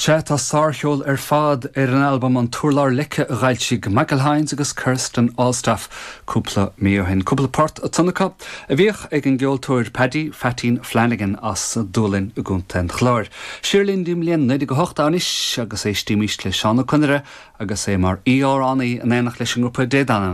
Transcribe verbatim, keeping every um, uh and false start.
Sea tá sárcheol ar fad ar an albam an Turlár Leice a d'fhoilsigh Michael Hynes agus Kirsten Allstaff cúpla mí ó shin. Cúpla port ansan acu a bhíodh ag an gceoltóir Paddy Phatín Flanagan as Dúlainn i gContae an Chláir. Siar linn go bliain naoi déag a hocht anois agus éistimís le Seán Ó Conaire agus é mar amhránaí in éineacht leis an ngrúpa Dé Danann.